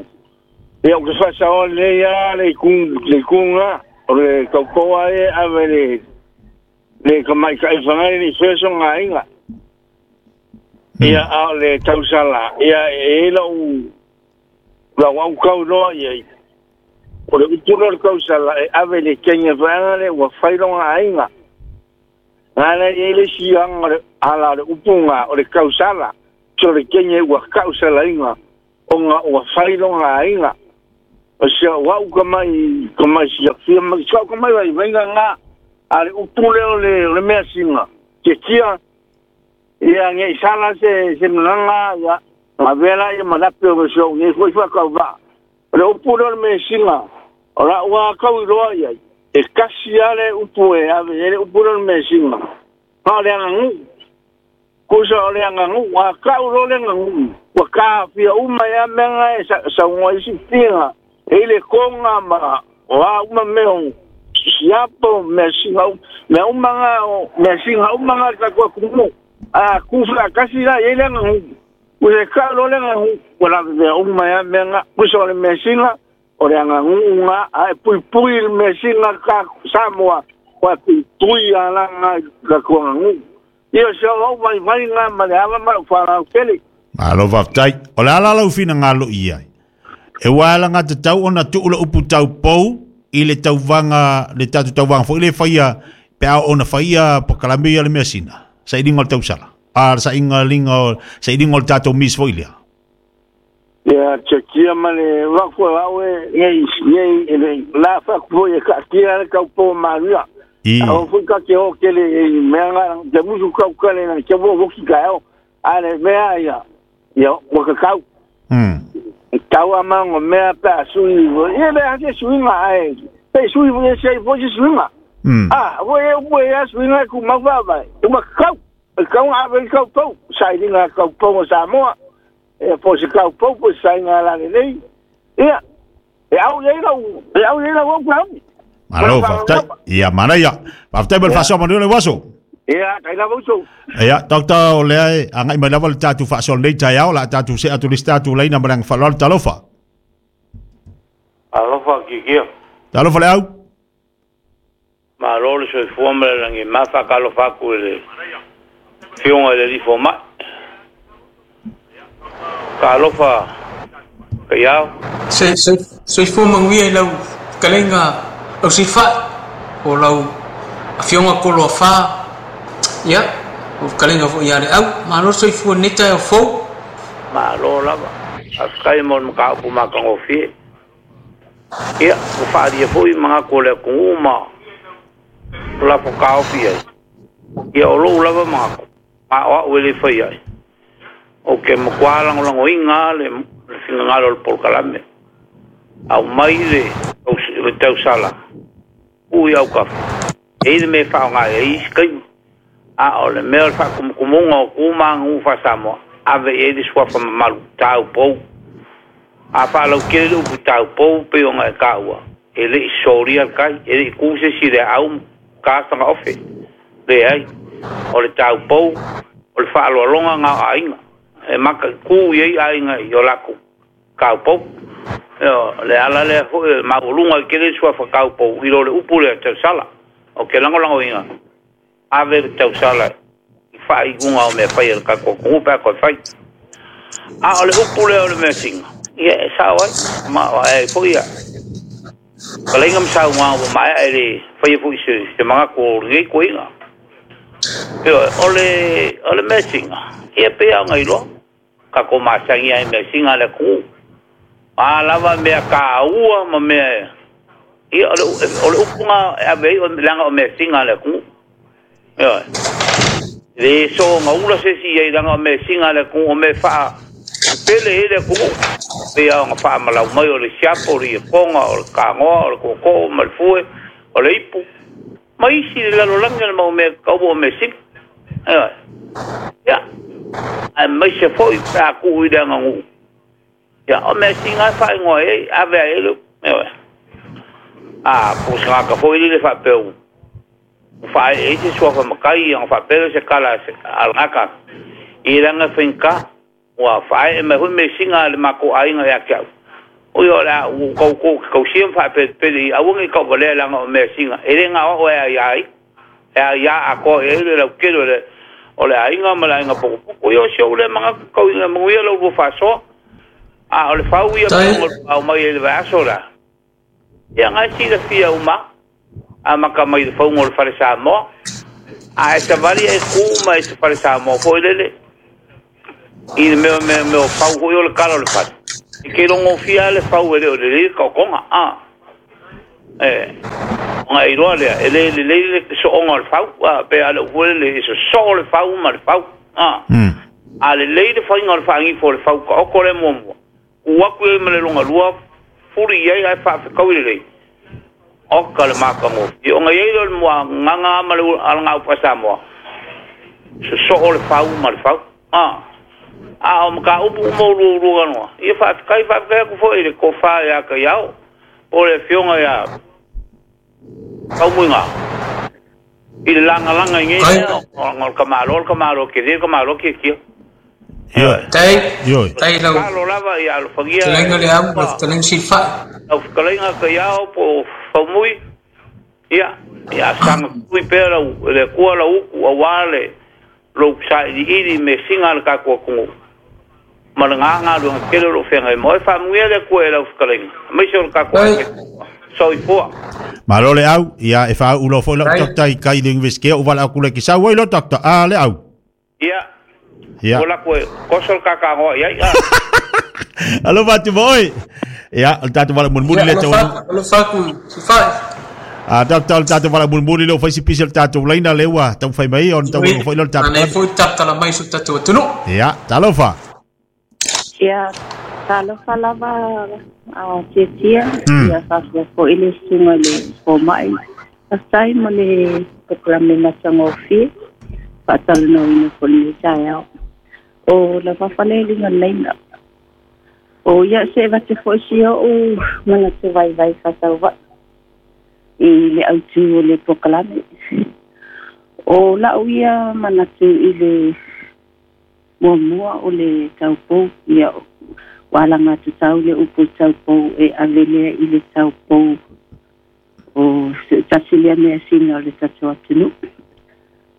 Ia o ke whasa o le ia le kung le kunga o le kaupau ia ave le le ka mai ka iwhangai le wheso ngā inga. Ia a le tausala ia e lau lau au kau loa ia i. O le upu le kausala e ave le kenya whaanga le ua whaironga ainga. Ngā e le sianga le ala le upunga o le kausala. So le kenya ua kausala inga o ngā ua whaironga ainga. O sia wau ka mai ka mai sia fia mai sau ka mai vai venga ngā a le upu le o le le mea singa. Ke tia ia nge sala se se mlanga ia ma vela ia manape o so nge foi fa ka va. O le upu le o le mea singa. O la ua kau i loa ia. E kasi ale upu e ave e le upu le o le mea singa. Pa le anga ngu. Kusa o le anga ngu. Wa kau lo le anga ngu. Wa ka fia uma ia menga e sa, sa unga isi tinga. E le konga ma wa uma meo siapo mea singa mea uma nga mea singa uma nga ka kua kumu. A kufa kasi la e le anga ngu. Kusa kau lo le anga ngu. Wa la mea uma ia menga. Kusa o le mea singa. O le anga ngu nga a e pui pui le mea singa ka Samoa. Wa pui pui a la nga ka kua nga ngu. Ia se o vai vai nga ma le ava ma wharau kele. Malo faafetai. O le ala lau finagalo i ai. E ua ala ngā tatau ona tuu le upu taupou i le tauvaga le tatou tauvaga foi le faia pe a ona faia pakalame ia le mea sina. Sailiga o le tausala. A le saiga liga o sailiga o le tatou mis foi lea. Ia chekia ma le wakua au e ngei ngei e le la fa ku e ka kia le kau po Maria. I. A o fu ka ke o kele e mea nga te musu kau kale na ke wo woki ka o. A le mea ia ia o ka kau. Hmm. Tau a mango mea pa sui vo. Ia le ake sui nga ai. Pe sui vo se vo se sui nga. Hmm. Ah, wo e wo e sui nga ku ma va vai. Uma kau. Kau a ve kau pau. Sai linga kau pau o Samoa. E po se kau pau po sai nga la nei. Ia. E au ia lau, e au ia lau ku au. Malo faafetai. Ia manaia. Faafetai mo le faasoa manuia le uaso. Ia, kai lava uso. Ia, doctor o lea e agai mai lava le tatou faasoa lenei taeao la tatou se atu le isi tatou laina ma le aga faaaloalo talofa. Alofa kikia. Talofa le au. Malo le soifua ma le lagi mafa ka alofa aku i le fioga i le alii fomai. Ka alofa Kaiao. Se se soifua manuia i lau fetalaiga ausifa'i o lau afioga koloafā ia o fetalaiga fo'i ia le au malo soifua lenei taeao fou. Malo lava. Faafetai mo le mataupu matagofie. Ia, ua faaalia foi manatu o le atunuu ma lafo taofi ai. Ia o lou lava manatu, ma o au e le fai ai. Ou te matua lagolagoina le le finagalo o le polokalame. Aumai le le tausala tuu i autafa. E i ai le mea e faaaoga ai i isi taimi. A o le mea o le faakumukumuga o tu ma aganuu faa-Samoa, ave i ai le suafa mamalu, taupou. A faalautele le upu taupou pei ona e taua, e le i solia le tai, e le i tu se isi i le aau ma ta fagaofe. Leai, o le taupou, o le faaaloaloga na o aiga, e mataitu i ai aiga i o latou taupou. Ioe, o le ala lea foi o le maualuga i tele suafa taupou i lo le upu lea tausala. Ou te lagolagoina, ave le tausala i faaiuga o mea fai a le tatou atunuu pe a toe fai. A o le upu lea o le measina, ia e sao ai, ma o ai foi ia fetalaiga ma saunoaga ua maea e le faia foi se, se manatu o lenei toeaina. Ioe, o le, o le measina, ia pei lava ona iloa, tatou masani lava i measina a le atunuu. A lava mea taua ma mea, ia o le, o le upu na e ave ai, leaga o measina a le atunuu. Ioe. E le soona ula se isi i ai leaga o measina a le atunuu, o mea faa pele ai le atunuu. Pei lava ona faamalau mai o le siapo, o le iekoga, o le kanoa, o le tootoo ma le fue, o le ipu, ma isi i le lalolagi o le mau mea taua o measina. Ioe. Ia, aemaise foi pe a tuu i le aganuu. Ia, o measina e faaigoa ai, ave ai le upu. Ioe. A, po o se tagata foi lele faapea ua faaee ai se suafa matai ona faapea lea o se tala a le gata i lana faigata ua faaee mai foi measina a le matou aiga ia te au. Ui o le a ua tou tou te tausia ma faapelepele i aua ne i tauvalea leaga o measina e le gao au e aia ai e aia atoa i ai le lautele o le o le aiga ma le aiga potopoto. Ia o si ou lea manatu tau ina manuia la ulua faasoa. A o le fau ia Tai. pei ona aumai ai i le vaiaso la, ia na e silafia uma amata mai i le fauga o le fale Samoa. A e savali e ku ma e se fale Samoa foi lele i le mea mea mea o fau foi o le kala o le fale. E ke logofia lava le fau e le o lelei le taotoga. A e ona e iloa lea, e le lelei le soonga o le fau, a pe a le upu foi lele, e sosoo le fau ma le fau. A a lelei le faiga o le faagifo o le fau taoto lea muamua, tu atu i ai ma le lona lua, fuli i ai ae faafetaui lelei. Oka le matagofie. Ona i ai lea o le muagaga ma le alagau faa-Samoa, sosoo le fau ma le fau. A, a o mataupu uma o lua ulua noa, ia faafetai, faafetai atu foi i le tofa ia Kaiao, po o le afioga ia Faumuiga, i le lagalaga i nei Tai. mea, ona o le tamaloa, o le tamaloa tele, le tamaloa tiatia. Ioe. Tai. Ioe. Tai lau Tatalo lava ia alofagia fetalaiga e le au lau fetalaiga Silafai. Lau fetalaiga Kaiao po o Faumui, ia, ia saga tui pea lau, le Atua lau utu aua le lou sailiili i measina a le tatou atunuu ma le gagaluega tele o lo o feagai ma oe. Faamanuia le Atua i lau fetalaiga, aemaise o le tatou Tai. aiga. Soifua. Malo le au, ia e faauu foi lau Tai. doctor i kai le universite o vala aku le kisau ai lo doctor. A le au. Ia, Ia. ua lako e koso le kakagoa i ai. Ah. Alofa atu mo oe. Ia, o le tatou vala mulimuli Ia, le tau. alofa atu, alofa atu Silafai. A doctor, o le tatou vala mulimuli le o fai si pisi o le tatou laina le ua taumafai mai ona tau Oi, foi le tatou. Manaia foi talatala mai i so tatou atunuu. Ia, talofa. Ia, talofa lava a tiatia, Mm. ia faapea foi le susuga i le fomai. Faafetai mo le polokalame matagofie, faatalanoaina foi lenei taeao. O lava falealiga laina. O ia se vate foi si o'u manatu vaivai faatauvai i le autu o le polokalame. O la'u ia manatu i le muamua o le taupou, ia ua alagatutau le upu taupou e ave lea i le taupou o se tasi lea measina o le tatou atunuu.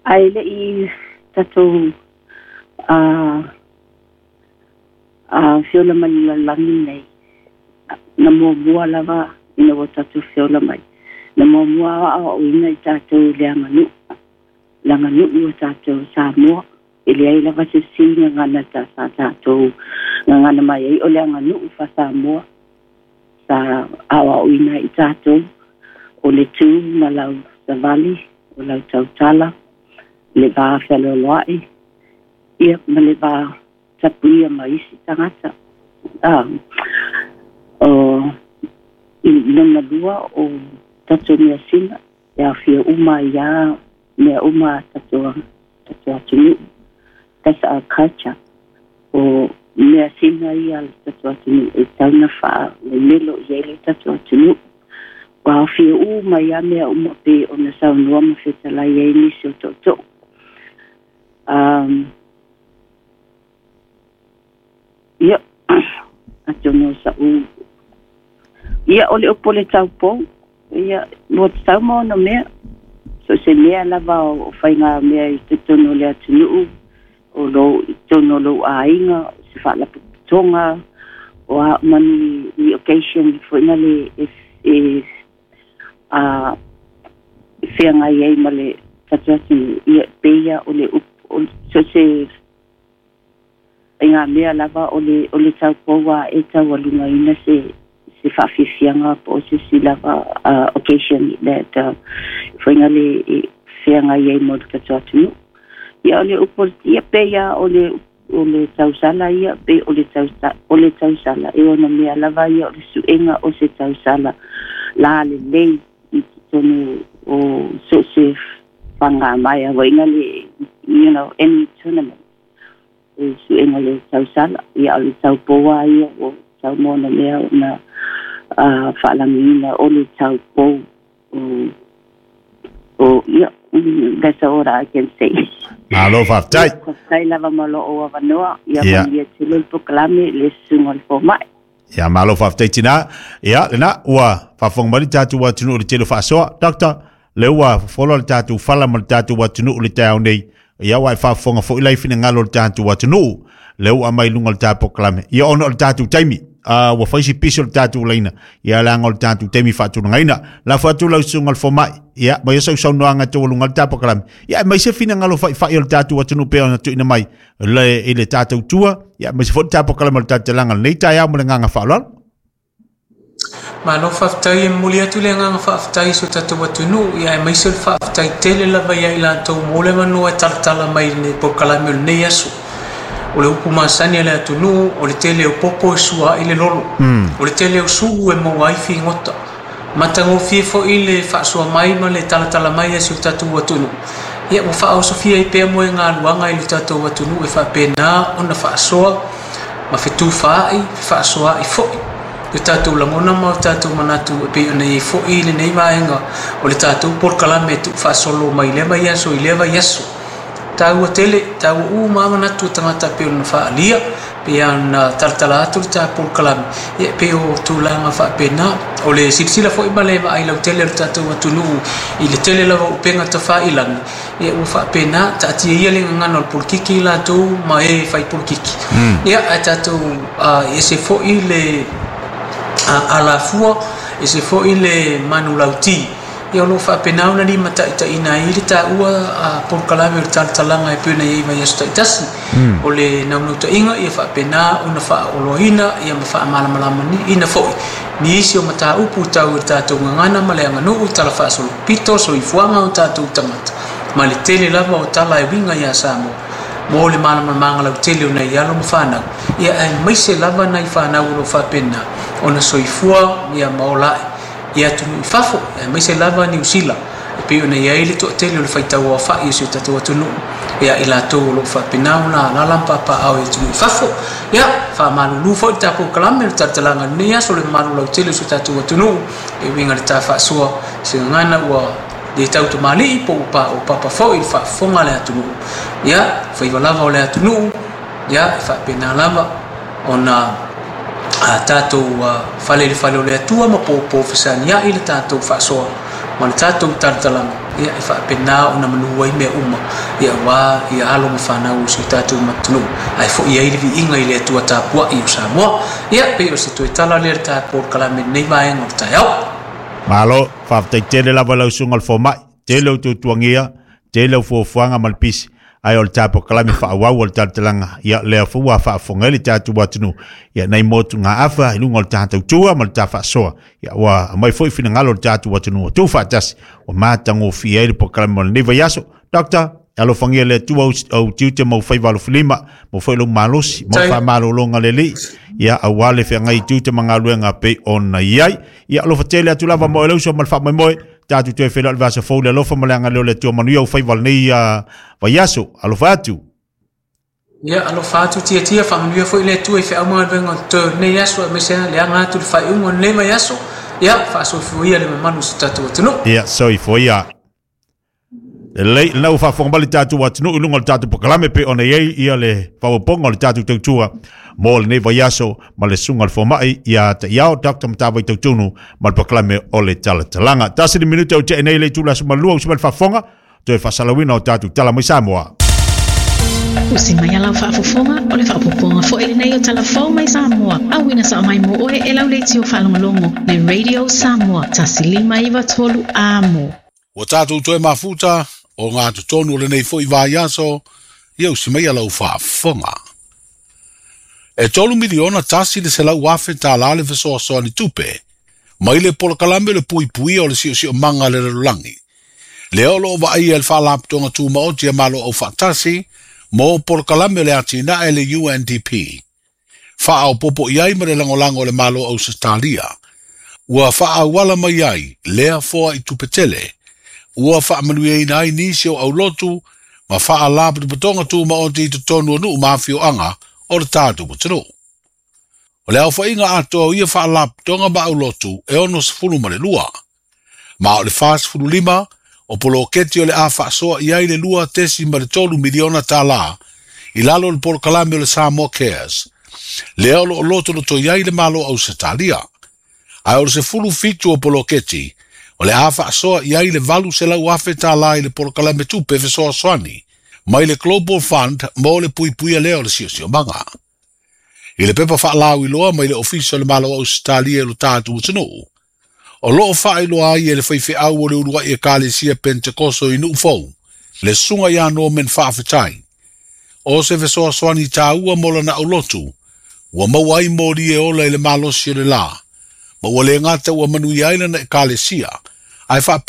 Ae le'i tatou a a fiola mai le lalolagi lenei. Na muamua lava ina ua tatou feola mai. Na muamua aoaoina i tatou i le aganuu. Le aganuu o tatou Samoa. E leai lava se isi gagana ta sa tatou gagana mai ai o le aganuu faa-Samoa. Sa aoaoina i tatou o le tu ma lau savali, o lau tautala, le va fealoaloai, ia ma le va tapuia ma isi tagata. Ah, o i lona lua o tatou measina, e aofia uma ai lava mea uma a tatou tatou atunuu. That's our culture. O measina ia a le tatou atunuu e tatau ona faalemelo i ai le tatou atunuu. Ua aofia uma ai lava mea uma pei ona saunoa ma fetalai ai nisi o tootoo. Um, ia, atonu o sa'u. Ia, o le upu o le taupou, ia, ua tatau ma ona mea. So se mea lava o faiga mea i totonu o le atunuu, o lou i totonu o lou aiga, o se faalapotopotoga, o a uma ni, ni occasion foi na le e, e a feagai ai ma le tatou atunuu, ia pei ia o le upu o so se faiga mea lava o le o le taupou a e taualugaina se se faafiafiaga po o se isi lava uh, occasion that uh, foi na le e feagai ai mo le tatou atunuu. Ia o le upu ia pei ia o le o le tausala ia pei o le tausa o le tausala e ona mea lava ia o le suega o se tausala la lelei i totonu o so se fagamaea uaina le you know any tournament e suega le tausala ia o le taupou lava ia ua tau ma ona mea ona uh, faalagiina o le taupou o o ia that's all I can say. Malo faafetai. Faafetai lava ma lou avanoa ia Ia. manuia tele le polokalame le susuga o le fomai. Ia malo faafetai tina. Ia lena ua faafofoga mai le tatou atunuu i le tele o faasoa. Doctor, le ua folo le tatou fala ma le tatou atunuu i le taeao nei. Ia ua e faafofoga foi lai finagalo o le tatou atunuu. Le ua aumai i luga o le tatou polokalame. Ia ona o le tatou taimi. Uh, ua fai si piso le tatou laina. Ia leaga o le tatou taimi faatulagaina. Lafo atu lau susuga o le fomai. Ia, ma ia sausaunoaga e taualuga le tatou polokalame. Ia, mai se finagalo faifai o le tatou atunuu pei ona tuuina mai le, i le tatou tua. Ia, mai se foi le tatou polokalame o le tatou talaga lenei taeao ma le agaga faaaloalo. Malo faafetai, e momoli atu le agaga faafetai i so tatou atunuu, ia aemaise o le faafetai tele lava ia i latou mo le avanoa e talatala mai i le polokalame o lenei aso. O le upu masani a le atunuu, o le tele o popo e sua ai le lolo. O le tele o sulu e maua ai figota. Matagofie foi le faasoa mai ma le talatala mai a si o tatou atunuu. Ia ua faaosofia ai pea mo e galuaga i le tatou atunuu e faapena ona faasoa ma fetufaai, fefaasoaai foi o tatou lagona ma o tatou manatu e pei ona i ai foi i lenei vaega o le tatou polokalame e tuufaasolo mai lea vaiaso i lea vaiaso. Taua tele, taua uma lava manatu o tagata pei ona faaalia, pei ona talatala atu le ta polokalame, ia pei o tulaga faapena. O le silasila foi ma le vaai lautele o le tatou atunuu i le tele lava o upega tafailagi, ia ua faapena, taatia ia le gagana o le polokiki i latou ma e fai polokiki. Ia ae tatou uh, ese foi le uh, alafua, ese foi le manulauti. Ia o lo o faapena ona limataitaiina ai le taua uh, polokalame o le talatalaga e pei ona i ai vaiaso taitasi. O le naunautaiga ia faapena ona faaoloaina ia ma faamalamalamaina foi nisi o mataupu tau i le tatou gagana ma le aganuu, tala faasolopito, soifuaga o tatou tagata ma le tele lava o tala e uiga ia Samoa mo le malamalamaga lautele o nai alo ma fanau. Ia aemaise lava nai fanau o lo o faapena ona soifua ia ma ola ae i atunuu i fafo, aemaise lava Niu Sila e pei ona i ai le toatele o le faitau aofai o si o tatou atunuu ia i latou o lo o faapena ona alaala ma papaaao i atunuu i fafo. Ia faamalulu foi le tatou kalame le talatalaga i lenei aso le mamalu lautele o si o tatou atunuu e uiga i le ta faasoa se gagana ua le tau tamalii po ua pa o papa foi i le faafofoga a le atunuu. Ia faiva lava o le atunuu, ia e faapena lava ona a tatou uh, fale i le fale o le Atua ma popo fesaniai le tatou faasoa ma le tatou talatalaga. Ia e faapena ona manu ai mea uma ia auā ia alo ma fanau o si o tatou atunuu ae foʻi ai le viiga i le Atua tapuaʻi o Samoa. Ia pei o se toe tala lea le ta polokalame lenei vaega o le taeao. Malo, faafetai tele lava lau susuga o le fomaʻi, tele o tuatuagia, tele o fuafuaga ma le pisi, ae o le tapokalaime faaauau o le talatalaga, ia lea foi ua faafofoga ai le tatou atunuu, ia nai motugaafa i luga o le tatautua ma le tafaasoa, ia ua aumai foi finagalo o le tatou atunuu ua tuufaatasi, ua matagofie ai le polokalame o lenei vaiaso. Doctor, alofagia le Atua au tiute ma ou faiva alofilima, mo foi lou malosi, mo faamalologa lelei, ia auā le feagai i tiute ma galuega pei ona i ai. Ia alofa tele atu lava mo e le uso ma le faamoemoe, tatou toe feiloai le vaiaso fou le alofa ma le agalelei o le Atua manuia ou faiva lenei vaiaso. Alofa atu. Ia alofa atu tiatia faamanuia foi le Atua i feau ma galuega o totoe o lenei aso aemaise le aga atu i le faaiuga o lenei vaiaso. Ia faasoifua ia le mamalu o si o tatou atunuu. Ia soifua ia. Lelei, lena ua faafofoga mai le tatou atunuu i luga o le tatou polokalame pei ona i ai ia le faaopoopoga o le tatou tautua mo lenei vaiaso ma le susuga o le fomaʻi ia Ta'iao Doctor Matavai Tautunu ma le polokalame o le talatalaga. Tasi le minute o teʻe nei le itula aso malua usi mai le faafofoga toe faasalauina o tatou tala mai Samoa. Usi mai a lau faafofoga o le faaopoopoga foi lenei o Tala Fou mai Samoa, auina sao mai mo oe e lau leitio faalogologo le Radio Samoa tasi lima iva tolu amo. Ua tatou toe mafuta o ngā totonu o lenei foi vaiaso, ia usi mai a lau faafofoga. E tolu miliona tasi le selau afe tālā le fesoasoani tupe, mai le polokalame le puipuia o le siosiomaga a le lalolagi. Lea o loo vaaia e le Faalapotopotoga Tumaoti a Malo Aufaatasi mo polokalame o le atinae le U N D P. Faaopopo i ai ma le lagolago o le Malo Ausetalia. Ua faaauala mai ai lea foa i tupe tele. Ua faamanuiaina ai nisi o aulotu ma faalapotopotoga tumaoti i totonu o nuu ma afioaga o le tatou atunuu. O le aofaiga atoa o ia faalapotopotoga ma aulotu e ono sefulu ma le lua. Ma o le fa sefulu lima o poloketi o le a faasoa i ai le lua tesi ma le tolu miliona tālā i lalo o le polokalame o le Samoa Cares. Lea o loo lotoloto i ai le Malo Ausetalia. Ae o le sefulu fitu o poloketi o le a faasoa i ai le valu selau afe tālā i le polokalame tupe fesoasoani mai le Global Fund mo le puipuia lea o le siosiomaga. I le pepa faalauiloa mai le Ofisa o le Malo Ausetalia i lo tatou atunuu. O loo faailoa ai e le faifeau o le uluai ekalesia Pentekoso i Nuufou, le susuga ia Norman Faafetai. O se fesoasoani tāua mo lana aulotu, ua maua ai moli e ola i le malosi o le la, ma ua le gata ua manuia ai lana ekalesia, ae faapea